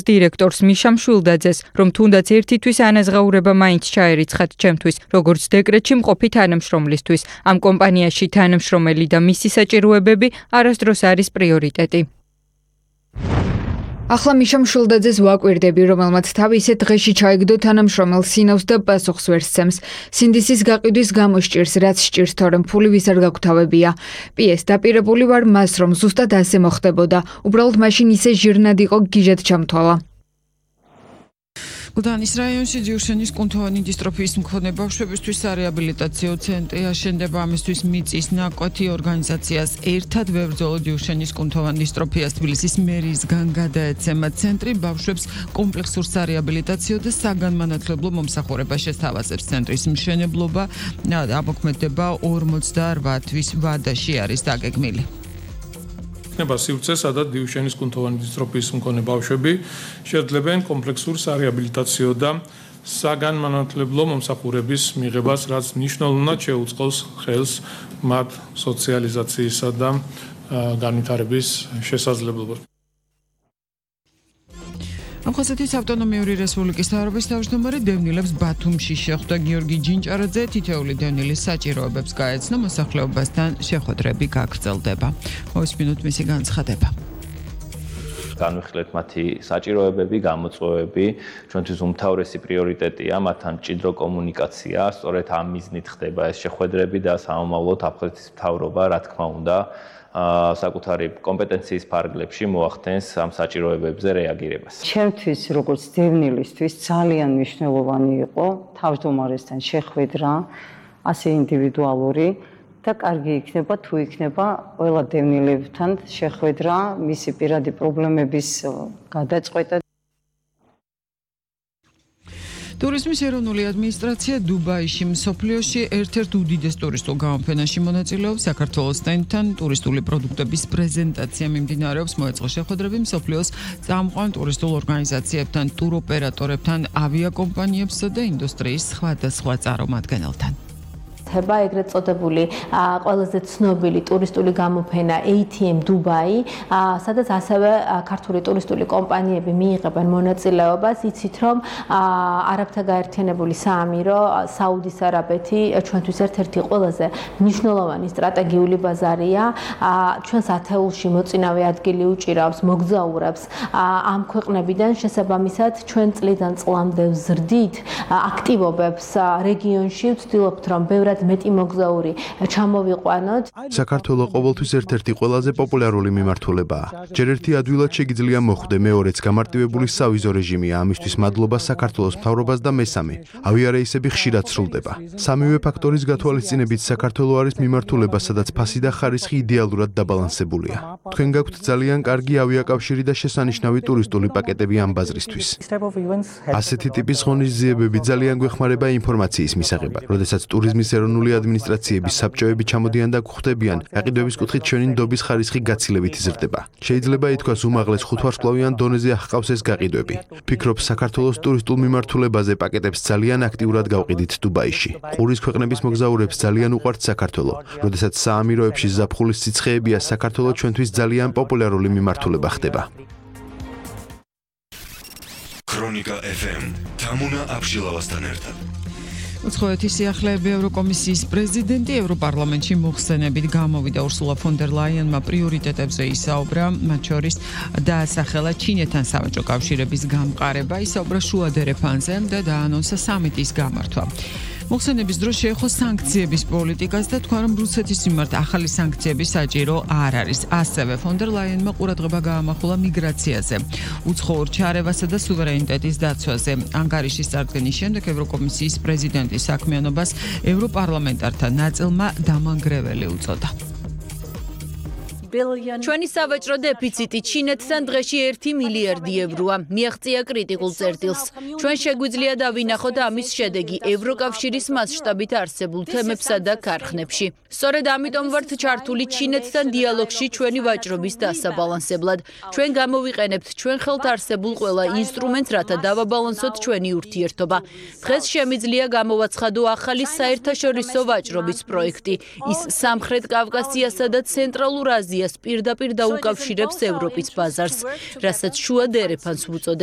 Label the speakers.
Speaker 1: დირექტორს მიშამ შვილდაძეს, რომ თუნდაც ერთისთვის ანაზღაურება მაინც ჩაერიცხათ ჩემთვის, როგორც დეკრეტში მყოფი თანამშრომლისთვის. ამ კომპანიაში თანამშრომელი და მისი საჭიროებები არასდროს არის პრიორიტეტი. ახლა მიშამ შვილდაძეს ვაკვირდები, რომელმაც თავი ისეთ დღეში ჩაიგდო თანამშრომელ სინავს და პასუხს ვერ სცემს. სინდისის გაყიდვის გამო სჭირს, რაც სჭირს, თორემ ფული ვის არ გაგვთავებია. პიეს დაპირებული ვარ მას, რომ ზუსტად ასე მოხდებოდა. უბრალოდ მაშინ ისე ჟირნად იყო გიჟად ჩამთვალა.
Speaker 2: გუდანის რაიონში ჯიუშენის კუნთოვანი დისტროფიის მქონე ბავშვებისთვის სარეაბილიტაციო ცენტრი აშენდება. ამისთვის მიწის ნაკვეთი ორგანიზაციას ერთად ვებრძოლო ჯიუშენის კუნთოვან დისტროფიას თბილისის მერიისგან გადაეცემა. ცენტრი ბავშვებს კომპლექსურ სარეაბილიტაციო და საგანმანათლებლო მომსახურებას შესთავაზებს. ცენტრის მშენებლობა ამოქმედება 48 თვის ვადაში არის დაგეგმილი.
Speaker 3: იქნება სივრცე, სადაც ჯიუშენის კუნთოვანი დისტროფიის მქონე ბავშვები შეძლებენ კომპლექსურ სარეაბილიტაციო და საგანმანათლებლო მომსახურების მიღებას, რაც მნიშვნელოვნად შეუწყობს ხელს მათ სოციალიზაციისა და განვითარების შესაძლებლობას.
Speaker 2: ამხოსეთის ავტონომიური რესპუბლიკის მთავრობის თავმჯდომარე დევნილებს ბათუმში შეხვდა. გიორგი ჯინჭარაძე თითოეული დევნილის საჭიროებებს გაეცნო, მოსახლეობასთან შეხვედრები გაგრძელდება. მოვისმინოთ მისი განცხადება.
Speaker 4: განვიხილეთ მათი საჭიროებები, გამოწვევები, ჩვენთვის უმთავრესი პრიორიტეტია მათთან მჭიდრო კომუნიკაცია, სწორედ ამ მიზნით ხდება ეს შეხვედრები და სამომავლოდ აფხაზეთის მთავრობა, რა თქმა უნდა, საკუთარი კომპეტენციის ფარგლებში მოახდენს ამ საჭიროებებზე რეაგირებას.
Speaker 5: ჩემთვის, როგორც დევნილისთვის, ძალიან მნიშვნელოვანი იყო თავმჯდომარესთან შეხვედრა, ასე ინდივიდუალური და კარგი იქნება თუ იქნება ყველა დევნილებთან შეხვედრა, მისი პირადი პრობლემების გადაწყვეტა.
Speaker 2: ტურიზმის ეროვნული ადმინისტრაცია დუბაიში მსოფლიოში ერთ-ერთ უდიდეს ტურისტულ გამოფენაში მონაწილეობს. საქართველოსთან ტურისტული პროდუქტების პრეზენტაცია მიმდინარეობს. მოეწყო შეხვედრები მსოფლიოს წამყვან ტურისტულ ორგანიზაციებთან, ტუროპერატორებთან, ავიაკომპანიებსა და ინდუსტრიის სხვადასხვა წარმომადგენელთან.
Speaker 6: ეგრეთ წოდებული ყველაზე ცნობილი ტურისტული გამოფენა ATM დუბაი, სადაც ასევე ქართული ტურისტული კომპანიები მიიღებენ მონაწილეობას. იცით, რომ არაბთა გაერთიანებული საამირო, საუდის არაბეთი ჩვენთვის ერთ-ერთი ყველაზე მნიშვნელოვანი სტრატეგიული ბაზარია. ჩვენს ათეულში მოწინავე ადგილი უჭირავს მოგზაურებს ამ ქვეყნებიდან. შესაბამისად, ჩვენ წლიდან წლამდე ვზრდით აქტივობებს რეგიონში, ვცდილობთ, რომ ბევრად მეტი მოგზაური ჩამოვიყვანოთ.
Speaker 7: საქართველოს ყოველთვის ერთ-ერთი ყველაზე პოპულარული მიმართულებაა. ჯერ ერთი ადვილად შეგიძლია მოხვდე, მეორეც გამარტივებული სავიზო რეჟიმია. ამისთვის მადლობა საქართველოს მთავრობას და მესამე, ავიარეისები ხშირად სრულდება. სამივე ფაქტორის გათვალისწინებით საქართველოს არის მიმართულება, სადაც ფასი და ხარისხი იდეალურად დაბალანსებულია. თქვენ გაქვთ ძალიან კარგი ავიაკავშირი და შესანიშნავი ტურისტული პაკეტები ამ ბაზრისთვის. ასეთი ტიპის ღონისძიებები ძალიან გვეხმარება ინფორმაციის მისაღებად, როდესაც ტურიზმის ეროვნული ადმინისტრაციების საბჭოები ჩამოდიან და გვხვდებიან, გაყიდვების კუთხით ჩვენი ნდობის ხარისხი გაცილებით იზრდება. შეიძლება ითქვას, უმაღლეს 5 ვარსკვლავიან დონეზე აღყავს ეს გაყიდვები. ფიქრობ, საქართველოს ტურისტულ მიმართულებაზე პაკეტებს ძალიან აქტიურად გავყიდით დუბაიში. ყურის ქვეყნების მოგზაურებს ძალიან უყვართ საქართველო. როდესაც საამიროებში ზაფხულის სიცხეებია, საქართველო ჩვენთვის ძალიან პოპულარული მიმართულება ხდება.
Speaker 8: ქრონიკა FM თამუნა აბშილავასთან ერთად.
Speaker 2: უცხოეთის სიახლეები ევროკომისიის პრეზიდენტი ევროპარლამენტში მოხსენებით გამოვიდა. ურსულა ფონ დერ ლაიენმა პრიორიტეტებზე ისაუბრა, მათ შორის დაასახელა ჩინეთთან სავაჭრო კავშირების გამყარება, ისაუბრა შუა დერეფანზე და დაანონსა სამიტის გამართვა. მოხსენების დროს შეეხო სანქციების პოლიტიკას და თქვა, რომ რუსეთის მიმართ ახალი სანქციები საჭირო არ არის. ასევე ფონ დერ ლაიენმა ყურადღება გაამახვილა მიგრაციაზე, უცხოურ ჩარევასა და სუვერენიტეტის დაცვაზე. ანგარიშის წარდგენის შემდეგ ევროკომისიის პრეზიდენტის საქმიანობას ევროპარლამენტართა ნაწილმა დამანგრეველი უწოდა.
Speaker 9: ჩვენი სავაჭრო დეფიციტი ჩინეთთან დღეში 1 მილიარდი ევროა. მიაღწია კრიტიკულ წერტილს. ჩვენ შეგვიძლია დავინახოთ ამის შედეგი ევროკავშირის მასშტაბით არსებულ თემებსა და ქარხნებში. სწორედ ამიტომ ვართ ჩართული ჩინეთთან დიალოგში ჩვენი ვაჭრობის დასაბალანსებლად. ჩვენ გამოვიყენებთ ჩვენ ხელთ არსებულ ყველა ინსტრუმენტს, რათა დავაბალანსოთ ჩვენი ურთიერთობა. დღეს შემიძლია გამოვაცხადო ახალი საერთაშორისო ვაჭრობის პროექტი. ის სამხრეთ კავკასიასა და ცენტრალურ აზიას იტალიას პირდაპირ დაუკავშირებს ევროპის ბაზარს, რასაც შუა დერეფანს ვუწოდებთ.